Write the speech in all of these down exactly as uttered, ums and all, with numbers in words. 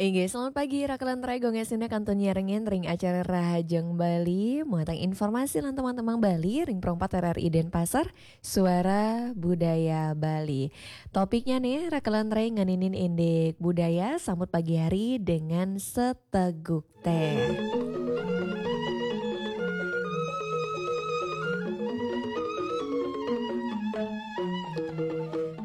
Inggih, selamat pagi, Rakelan Rai, Gonggé Sina kantun nyarengin ring acara Rahajeng Bali, muatan informasi lan teman-teman Bali, ring Pro empat R R I Denpasar, Suara Budaya Bali. Topiknya nih, Rakelan Rai nganinin indik budaya, sambut pagi hari dengan seteguk téh.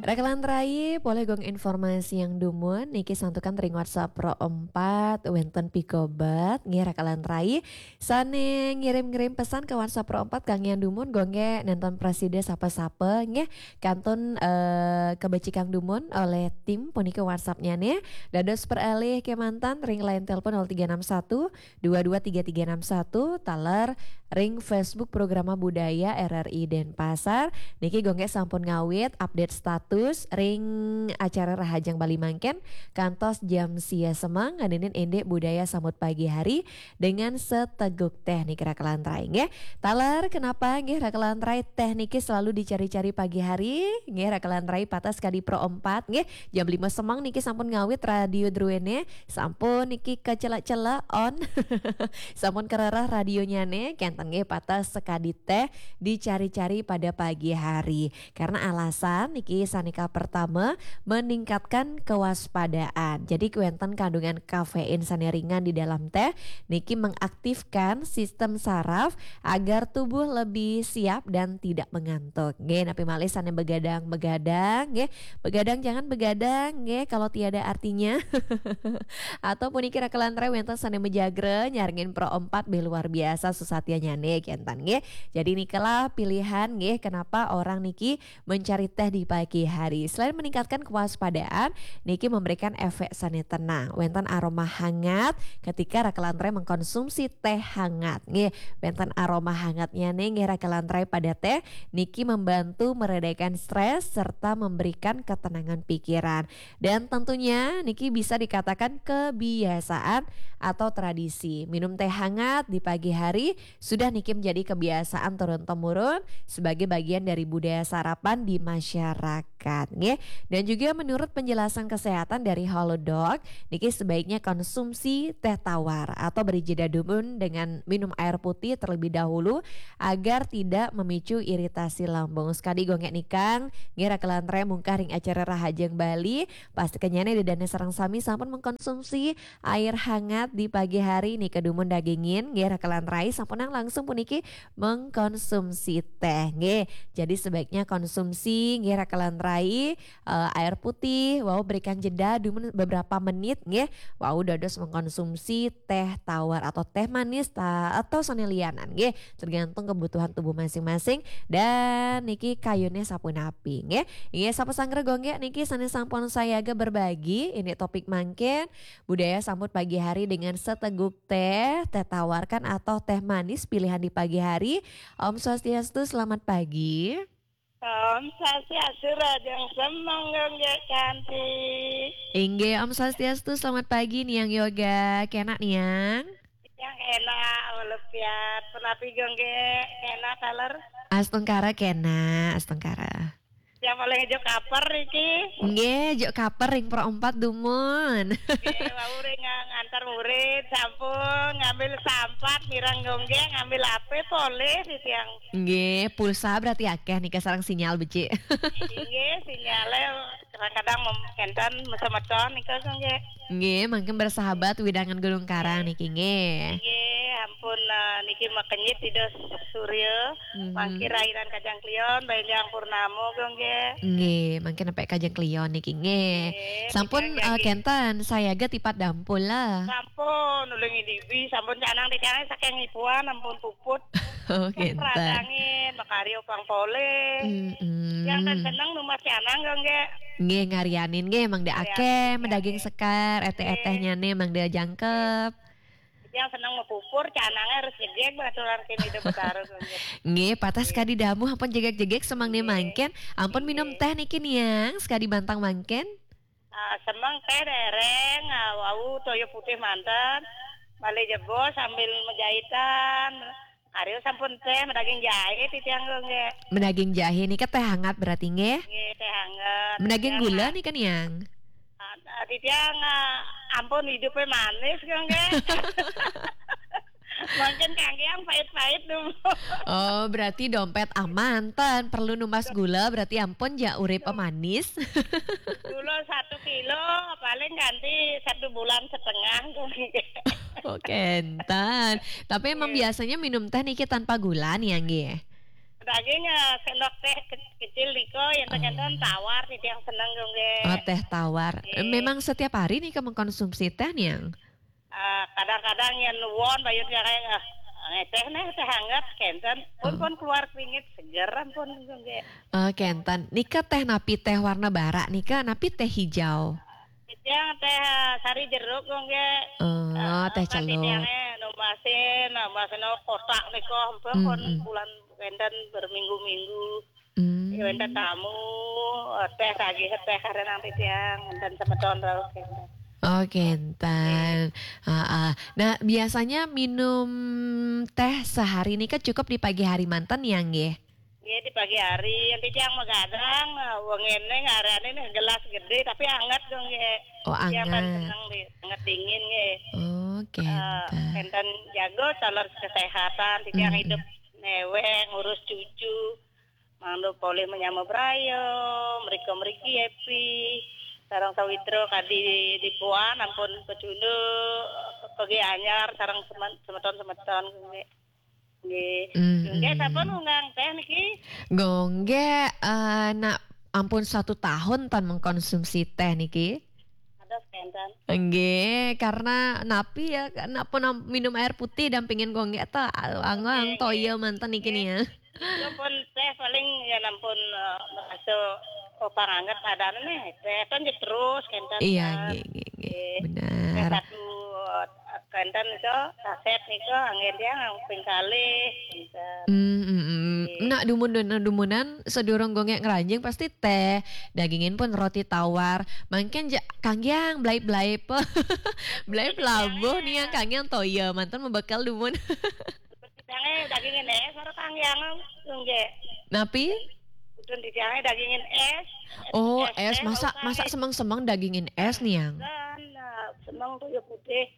Rakelan Rai, polih gong informasi yang dumun, niki santukan ring WhatsApp Pro empat, wénten pikobet, nggih Rakelan Rai. Sané ngirim-ngirim pesan ke WhatsApp Pro empat, kangge yang dumun, gonggé nénten prasida sapa-sapa, nggih. Kantun, eh, kabecikang dumun olih tim puniki WhatsApp-nya nih. Dados peralih kémanten ring line telepon nol tiga enam satu, dua dua tiga tiga enam satu, taler ring Facebook Programa Budaya R R I Denpasar. Niki gonggé sampun ngawit update status ring acara Rahajeng Bali mangkin kantos jam sia semeng nganinin indik budaya sambut pagi hari dengan seteguk téh niki Rakelan Rai nggih. Taler kenapa nggih Rakelan Rai téh niki selalu dicari-cari pagi hari nggih Rakelan Rai, pateh sakadi Pro empat nggih. Jam lima semeng niki sampun ngawit radio druéné, sampun niki kacelek-celek on. Sampun karereh radionyané, kénten nggih pateh sakadi téh dicari-cari pada pagi hari. Karena alasan niki sané kapertama meningkatkan kewaspadaan. Jadi wénten kandungan kafein sané ringan di dalam téh niki mengaktifkan sistem saraf agar tubuh lebih siap dan tidak mengantuk. Nggih, napi malih sané begadang-begadang, nggih. Begadang jangan begadang, nggih, kalau tiada artinya. Atau puniki Rakelan Rai wénten sané majagra nyarengin Pro empat, beh luar biasa susatianyané kénten, nggih. Jadi nikalah pilihan, nggih, kenapa orang niki mencari téh di pagi hari. Selain meningkatkan kewaspadaan, niki memberikan efek sané tenang. Wénten aroma hangat ketika Rakelan Rai mengkonsumsi téh hangat. Nggih, wénten aroma hangatnyané nggih Rakelan Rai pada téh niki membantu meredakan stres serta memberikan ketenangan pikiran. Dan tentunya niki bisa dikatakan kebiasaan atau tradisi. Minum téh hangat di pagi hari sudah niki menjadi kebiasaan turun-temurun sebagai bagian dari budaya sarapan di masyarakat, nggih. Dan juga menurut penjelasan kesehatan dari Halodoc, niki sebaiknya konsumsi téh tawar atau beri jeda dumun dengan minum air putih terlebih dahulu agar tidak memicu iritasi lambung. Sakadi gonggé nikang, nggih Rakelan Rai mungkah ring acara Rahajeng Bali, pastikannya nih ida dané sareng sami sampun mengkonsumsi air hangat di pagi hari nika dumun dagingin, nggih Rakelan Rai, sampunang langsung puniki mengkonsumsi téh, nggih. Jadi sebaiknya konsumsi, nggih Rakelan Rai, eh, air putih, wau berikan jeda dumun beberapa menit, nggih. Wau dados mengkonsumsi téh tawar atau téh manis ta-, atau sané lianan, nggih. Tergantung kebutuhan tubuh masing-masing dan niki kayuné sapunapi, nggih. Nggih, sapa sanggra gonggé niki sané sampun sayaga berbagi indik topik mangkin, budaya sambut pagi hari dengan seteguk téh, téh tawar kan atau téh manis pilihan di pagi hari. Om Swastiastu, selamat pagi. Om Swastiastu, Rahajeng Semeng, gonggé cantik. Inggih, Om Swastiastu, selamat pagi, Niang Yoga. Kénak, Niang? Yang enak, walafiat. Punapi gonggé, enak, taler? Astungkara kénak, astungkara. Yang paling jok kaper iki. Nggih, jok kaper ring Pro empat dumun. Nggih, wau ring ngantar murid, sampun ngambil sampat, mireng gonggé, ngambil H P, polih di tiang. Nggih, pulsa berarti akéh nika sareng sinyal becik. Inggih, sinyalé kadang-kadang mem-, kénten mesem-mesem nika, gonggé. Nggih, mangkin bersahabat wewidangan Gunung Karang niki, nggih. Nggih, ampun, eh, niki makenyit Ida Surya. Mhm. Mangkin rainan Kajeng Kliwon, Benjang Purnama, gonggé. Nggih, mangkin nampek Kajeng Kliwon niki, nggih. Nggih, sampun, eh, kénten sayaga tipat dampul lah. Sampun, ulih ngidibi, sampun canang di canang saking ipuan, ampun puput. Oh, kénten. Radangin, makarya pang polih. Mm-mm. Yang tan seneng numbas canang, gonggé. Nggih, ngarianin nggih, mangda akéh, nggih, medaging sekar, etéh-etéhnyané mangda jangkep. Yang seneng mapupur, canangé harus jegég, baturan kini Ida Betara, gonggé. Nggih, pateh sakadi damuh ampun jegég-jegég semeng niki mangkin. Ampun minum téh niki, Niang, sakadi bantang mangkin. Ah, semeng téh déréng, ah, wau toya putih manten. Malih jebos sambil majahitan. Arya sampun téh, medaging jahé titiang, gonggé. Medaging jahé nika téh hangat berarti, nggih? Nggih, téh hangat. Medaging gula nika, Niang? Ah, ah, titiang, ah, ampun, hidupnya manis kok, nggih. Mungkin kangge yang pahit-pahit dulu. Oh, berarti dompet aman, ten perlu numbas gula, berarti ampun ja urip manis. Gula satu kilo, paling ganti satu bulan setengah, kok, nggih. Oh, kenten. Tapi emang biasanya minum teh niki tanpa gula nih, ya, nggih? Daging, eh, sendok teh ke-, kecil niko, yang tergantung tawar nih yang seneng, kok, nggih. Oh, teh tawar. Nggih. Memang setiap hari nih kamu konsumsi teh nih, yang? Eh, kadang-kadang yang nuwun bayun yang kayak, eh, teh nih, teh hangat, kenten. Pun, pun keluar keringet, seger, ampun, kok, nggih. Oh, kenten. Nika teh napi, teh warna bara nika, napi teh hijau? Yang teh, eh, sari jeruk, kok, nggih. Oh, eh, teh apa sih celuk. Yang, eh, numbasin, numbasin, oh, kotak niko, ampun, pun bulan wenten berminggu-minggu. Hmm. Ya, wenten tamu, eh, teh lagi, teh karena nanti tiang, dan semeton terus, kenten. Oh, kenten. Heeh. Nah, biasanya minum teh sehari ini kan cukup di pagi hari manten ya, nggih? Iya, di pagi hari. Yang tiang magadang, eh, wengene ngarane nih gelas gede, tapi anget dong, nggih. Oh, anget. Seneng di, anget dingin, nggih. Oh, eh, kenten. Kenten jago calon kesehatan, tiang hidup neweng, ngurus cucu. Mangdo polih menyama brayo, mriko mriki happy. Sareng sawitra kadi di puan ampun pecunduk, pegi anyar sareng semen-, semeton-semeton, nggih. Nggih. Nggih, sampun ngundang teh niki? Nggih, eh, nak ampun satu tahun ten mengkonsumsi teh niki. Ados kenten. Nggih, karena napi ya, nak pun am-, minum air putih dampingin nggih to, anggo toya manten niki nih ya. Itu pun teh paling ya nampun, eh, merasa, oh, panganget adane nih. Teh kan terus kenten. Iya, nggih, nggih, nggih. Nggih. Benar. Teh satu, eh, kenten itu saset niku anggen tiang ping kalih, kenten. Hmm, hmm, hmm. Nggih. Nak dumun, nak dumunan sedurung nggih ngranjing pasti teh, dagingin pun roti tawar. Mangkin ja-, kanggiang blaip-blaip. Blaip labuh nih yang kanggiang toya, manten mebekal dumun. Jange dagingin es, ora kanggiang, nggih. Napi? Udun di jange dagingin es. Oh, es. Masa, masa semeng-semeng dagingin es nih, yang? Dan, eh, semeng toya putih.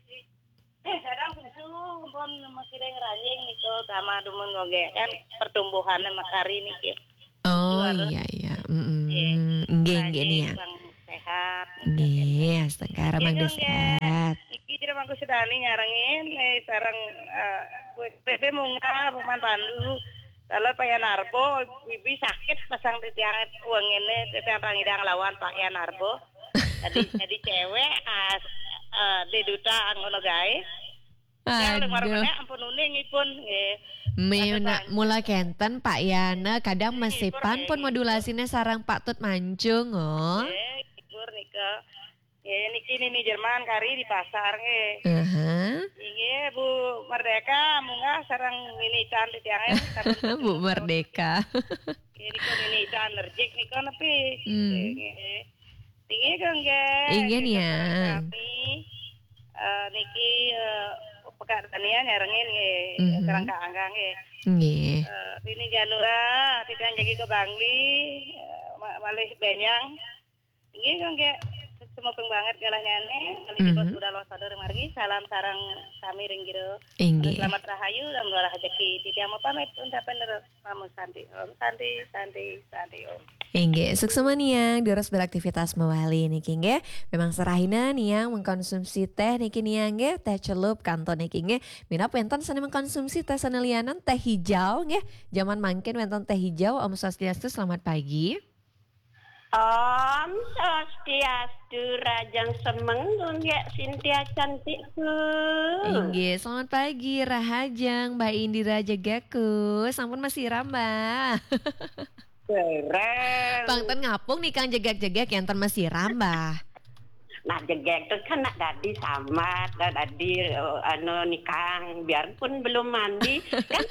Eh, kadang susu pun masih ada ngeranying itu sama dumun, nggih. Kan pertumbuhannya makari niki. Oh, iya, iya. Mm-mm. Nggih, nggih nih ya. Sehat. Nggih, astungkara mangga sehat. Iki jero mangku sedani nyarengin, eh, sareng, eh, B P munggah, Paman Pandu. Kalau Pak Yan Arbo, bibi sakit pasang di tiang uang ini, di tiang Rangidang lawan Pak Yan Arbo. Jadi, jadi cewek, ah, eh, di duta anggono gae. Yang lima ampun uning ipun, nggih. Mula kenten Pak Yana, kadang mesipan pun modulasine sareng Pak Tut Mancung, oh. Nggih, libur nika. Nggih, niki Nini Jerman kari di pasar, nggih. Aha. Nggih, Bu Merdeka, munggah sareng Nini Ican di tiange, Bu Merdeka. Nggih, niku Nini Ican nerjik niku nepi. Hmm. Nggih. Inggih, kangge. Inggih, Nini, ya. Kami, eh, niki, eh, Pekak Dania nyarengin, nggih. Mhm. Kerangka angga, nggih. Nggih. Eh, Nini Ganura, titiang jagi ke Bangli, eh, ma-, malih benyang. Inggih, kangge. Semua banget galahnya nih. Malih kita sudah los pada margi. Salam sareng kami ring jero. Inggih. Selamat rahayu dan murah rezeki. Titiang mau pamit, ucapan terus. Namo Santi Om, Santi, Santi, Santi Om. Inggih, suksma niang, durus beraktivitas mawali niki, nggih. Memang serahina niang mengkonsumsi teh niki niang, nggih, teh celup kanto niki, nggih. Minab wenten sane mengkonsumsi teh sane lianan, teh hijau, nggih. Zaman mangkin wenten teh hijau, Om Swastiastu, selamat pagi. Om Swastiastu, rahajeng semeng, Gunggek Sintia cantikku. Inggih, selamat pagi, rahajeng, Mbak Indira Jegekku. Sampun masiram, Mbah? Dereng. Pang ten ngapung nih, Kang, jegek-jegek, yang ten masiram, Mbah? Nah, jegek tuh kan nak dadi sambat, nak dadi, eh, anu, nikang, biarpun belum mandi, kan,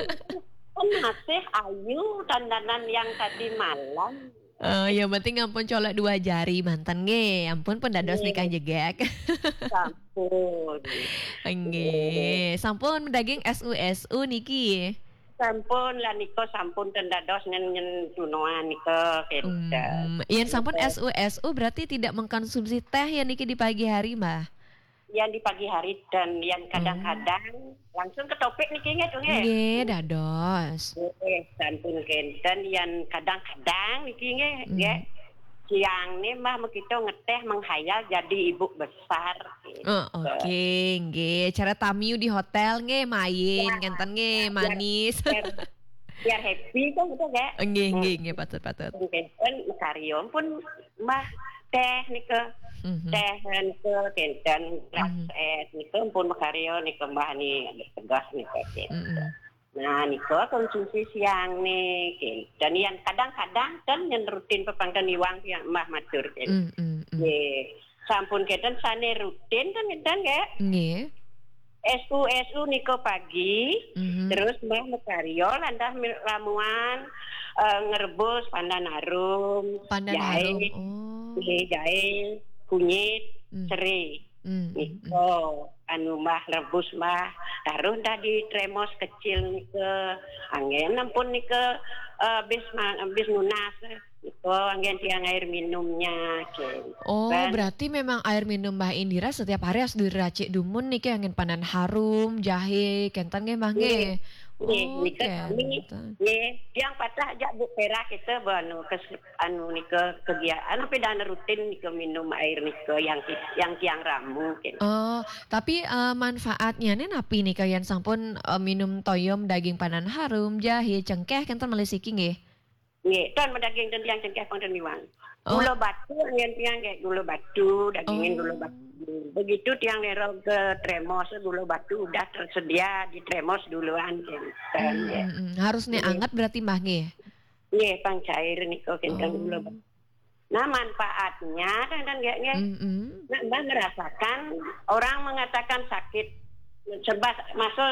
kan masih ayu dandanan yang tadi malam. Eh, yang penting ampun colek dua jari manten nggih. Ampun pun dados nikah jegek. Sampun. Nggih, sampun daging S U S U niki. Sampun lah nika sampun ten dados nyen, nyen tunoan nika, kenten. Hmm, yen sampun S U S U berarti tidak mengkonsumsi teh ya niki di pagi hari, Mbah? Yang di pagi hari ten, yang kadang-kadang langsung ke topik niki nggih, Cung, nggih. Nggih, dados. Nggih, sampun kenten yang kadang-kadang niki nggih, hmm, nggih. Siang nih Mbah mekito ngeteh menghayal jadi ibu besar. Gitu. Oh, oke, nggih. Cara tamiu di hotel nggih, main, ya, kenten nggih, ya, biar, manis. Biar, biar happy kan gitu, nggih. Nggih, hmm, nggih, nggih, patut, patut. Kenten mekaryo pun Mbah teh nika. Mhm. Teh nika kenten gelas, mhm, es nika pun mekaryo nika Mbah ni tegas nika kenten. Mhm. Nah, nika konsumsi siang ni kenten. Yang kadang-kadang kan yang rutin pepangken iwang yang Mbah matur kenten. Mhm, mhm. Nggih. Sampun kenten sane rutin kan kenten nggih? Nggih. S U S U nika pagi, mhm, terus Mbah mekaryo lantas mi-, ramuan, eh, ngrebus pandan harum, pandan jahe, harum, oh, nggih, jahe, kunyit, hmm, serai. Hmm, hmm, hmm. Nika, anu, Mbah rebus, Mbah. Taruh dah di tremos kecil nika. Anggen ampun nika, eh, bis ma-, bis nunas. Nika anggen tiang air minumnya, kenten. Oh, berarti memang air minum Mbah Indira setiap hari harus diracik dumun niki anggen pandan harum, jahe, kenten nggih, Mbah, nggih? Nggih. Nggih, oh, nika kami, kenten, nggih, tiang patah ajak Bu Pera kita, bu, anu, kes-, anu, nika kegiatan, tapi dah rutin nika minum air nika yang ti-, yang tiang ramu, kenten. Oh, tapi, eh, manfaatnya nih napi nika yang sampun, eh, minum toyom daging pandan harum, jahe, cengkeh, kenten malih siki nggih? Nggih, ten medaging ten tiang cengkeh pang ten miwang. Oh. Gula batu anggen tiang nggih, gula batu, dagingin gula batu. Oh. Begitu tiang nero ke tremos, gula batu udah tersedia di tremos duluan, kenten, hmm, nggih. Hmm, hmm. Harus nih, nggih, anget berarti, Mbah, nggih? Nggih, pang cair nika kenten, oh, gula batu. Nah, manfaatnya kan, kan nggih, nggih. Hmm, hmm. Nah, Mbah merasakan orang mengatakan sakit sebab masuk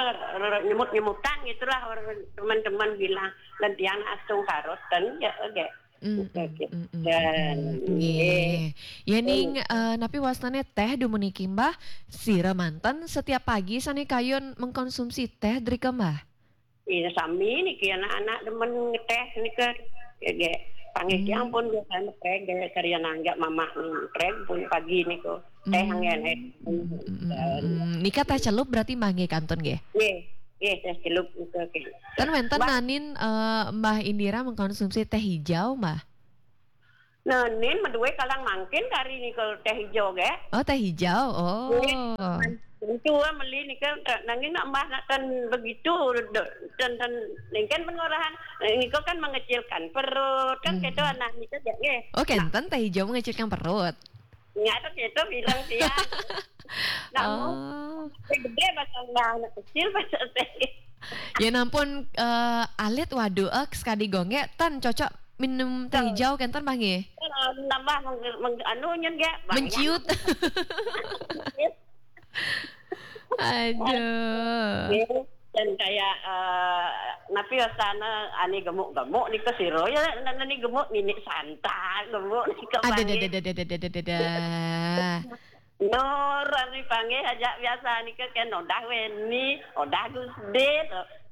nyemut-nyemutan gitulah orang teman-teman bilang, dan tiang astung karot ten ya, nggih. Mm, mm, mm, mm, dan, mm, mm. Nggih. Nggih. Ya, ning, eh, napi wastane teh dumun niki, Mbah? Sira manten setiap pagi sane kayun mengkonsumsi teh drika, Mbah? Iya, sami niki anak-anak demen ngeteh nika. Ya, nggih. Panggih, hmm, tiang pun biasa ngeteh, nggih, karya nanggak mamak ngeteh pun pagi niku. Teh, hmm, anggen, eh. Mm, mm, mm, mm. Nika teh celup berarti, Mbah, nggih, kantun nggih? Nggih, nggih, teh celup nika, nggih. Ten wenten, Mbah, nanin, eh, Mbah Indira mengkonsumsi teh hijau, Mbah? Nanin medue kalang mangkin kari nika teh hijau, nggih. Oh, teh hijau. Oh. Nggih. Tentu, ah, meli nika, nanging nak Mbah nak ten begitu, de-, ten, ten, ningken pengorahan, eh, nika kan mengecilkan perut, kan, hmm, gitu, anak nika, nggih. Oh, kenten teh hijau mengecilkan perut. Nggak ada gitu bilang dia. Namun, oh, gede bahasa Mbah, anak kecil bahasa teh. Ya nampun, eh, alit, waduh, eh, sekadi gongge, ten cocok minum teh hijau, kenten, Mbah, nggih? Nambah meng-, meng-, anu, nyen, nggih, banyak. Menciut. Aduh. Nggih. Dan kayak, eh, napi wastane ani gemuk-gemuk nika sira ya, ani gemuk nini santai, gemuk nika. Ada, ada, ada, ada, ada, ada, ada. Nur, ani panggih aja biasa nika kan odah weni, odah gusde,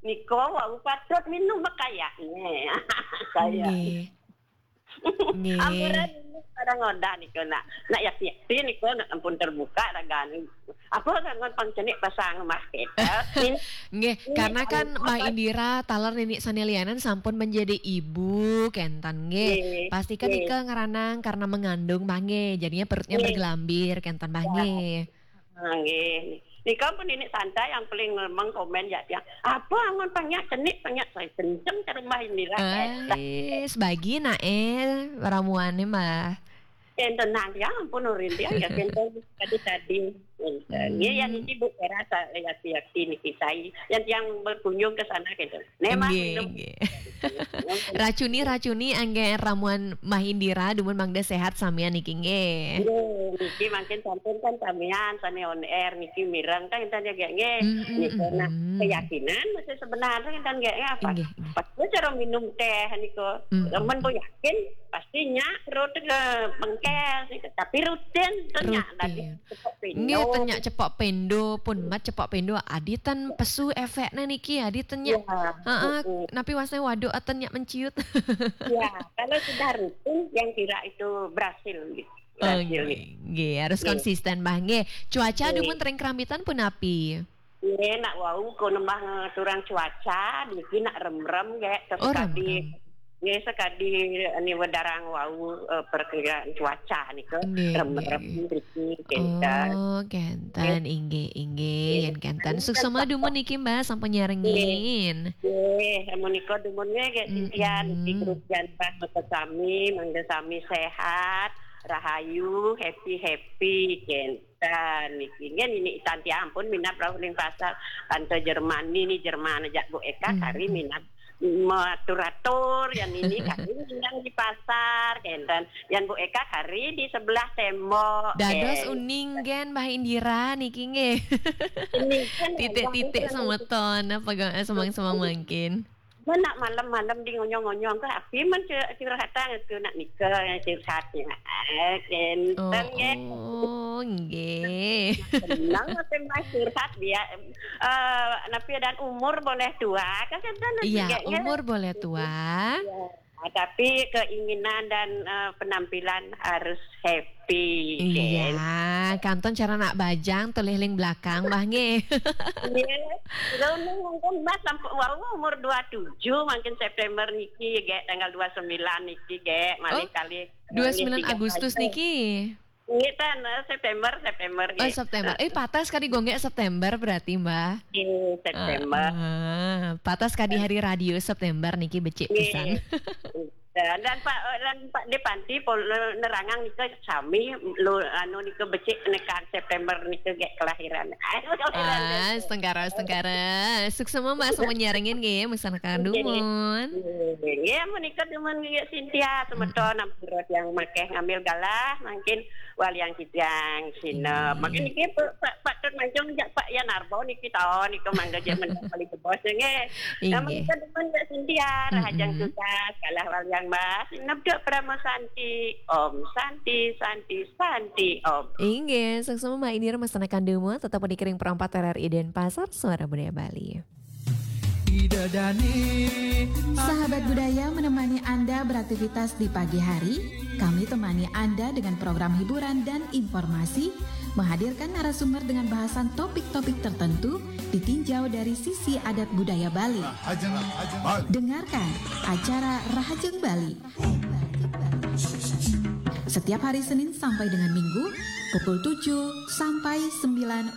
nika wau patut minum kayaknya. Kayak. Nggih. Nggih. Amburan pada ngodah niku nak. Nak yakti-yakti niku nak ampun terbuka ragane. Apa kan pang cenik pasang mah kita. Nggih, ini karena kan Mbah Indira taler nini sane lianan sampun menjadi ibu, kenten nggih. Nggih. Pasti kan nggih. Nika ngeranang karena mengandung, Mbah, nggih. Jadinya perutnya nggih. Bergelambir, kenten, Mbah, ya. Nggih. Ah, nggih. Nika pun ini santai yang paling lemeng komen ya, ya. Apa angon panyak cenik panyak saya kenceng ke rumah ini lah. Eh, sebagi nak eh ramuannya, Mbah. Yang tenang ya, ampun urin dia ya, kenten tadi-tadi. Kenten. Hmm. Ya, yang ini Bu Era sa-, yakti-yakti niki saya. Yang, yang berkunjung ke sana kenten. Nggih, nggih. Racuni, racuni angge ramuan Mbah Indira, dumun mangda sehat samian niki nggih. Nggih, niki mangkin sampun kan samian sane on air niki mireng kan enten nggih nggih. Mm, mm, niki nah, mm, mm. Keyakinan masih sebenarnya enten nggih apa? Nggih, nggih. Pas cara minum teh niku, mm, mm, men mm. Yakin pasti nyak perut ke bengkes niku, tapi rutin tu nyak tadi. Rutin. Cepok pendo. Nggih, ten nyak cepok pendo, pun mat cepok pendo, adi ten pesu efekne niki, adi ten nyak. Ya, heeh, heeh. Napi wasne waduk ten nyak menciut. Ya, kalau sudah rutin, yang kira itu berhasil gitu. Berhasil nggih. Nggih, harus konsisten, Mbah, nggih. Cuaca dumun teng Kerambitan punapi? Nggih, nak wau ko nembah ngaturang cuaca, niki nak remrem, nggih, sekadi, nggih, sekadi ni wedarang wau, eh, perkiraan cuaca nika, nggih, remrem nggih. Niki, kenten. Oh, kenten, nggih, nggih, yen kenten. Suksma dumun niki, Mbah, sampun nyarengin. Nggih, menika dumun nggih, nggih, Cynthia, niki grup jan Mbah, mangga sami, mangga sami sehat, rahayu, happy-happy, kenten. Dan niki nggih, nini Santi ampun minat rauh ning pasar. Tante Jerman, nini Jerman aja Bu Eka kari minat matur-atur, yang nini kari minat di pasar, kenten. Yang Bu Eka kari di sebelah tembok. Dados uning gen Mbah Indira niki nggih. Ini kan titik-titik semeton apa semang-semang mungkin. Nak malam-malam di ngonyong-ngonyong ke api men curhatan itu nak nikah curhat ya. Kenten nggih. Oh, nggih. Senang apa mas curhat dia. Eh, napi dan umur boleh tua kan kenten. Iya, umur boleh tua. Ya. Nah, tapi keinginan dan eh, penampilan harus happy. Iya, kanton cara nak bajang tuh ling belakang Mbah nggih. Iya. Kalau mungkin Mbah sampai wau umur dua tujuh, mungkin September niki gek tanggal dua sembilan niki gek malih kali. Dua sembilan Agustus niki. Nggih, ten, eh, September, September. Oh, September. Eh, patas kadi gonggek September berarti, Mbah. Nggih, September. Ah, patas kadi hari radio September niki becik pisan. Dan, dan Pak dan Pak Depanti pol nerangang nika sami lo anu nika becik nekan September nika gek kelahiran. Ah, setengkara, setengkara. Suksma Mbah sampun nyarengin nggih, meksanakaken dumun. Nggih, menika dumun nggih Cynthia semeton ampura yang makeh ngambil galah mungkin waliang kijang sinep. Mungkin niki Pak Pak Tut Manjung jak Pak Yan Arbo niki taun niku mangga jek mendak kali jebos nggih. Nah, menika dumun nggih Cynthia, rahajeng tugas, galah waliang Mbah, sinep duk Parama Santi. Om Santi, Santi, Santi, Om. Inggih, suksma Mbah Indira meksanakaken dumun, tetep dikiring perempat R R I Denpasar, Suara Budaya Bali. Sahabat budaya menemani Anda beraktivitas di pagi hari. Kami temani Anda dengan program hiburan dan informasi, menghadirkan narasumber dengan bahasan topik-topik tertentu, ditinjau dari sisi adat budaya Bali. Dengarkan acara Rahajeng Bali. Setiap hari Senin sampai dengan Minggu, pukul tujuh sampai sembilan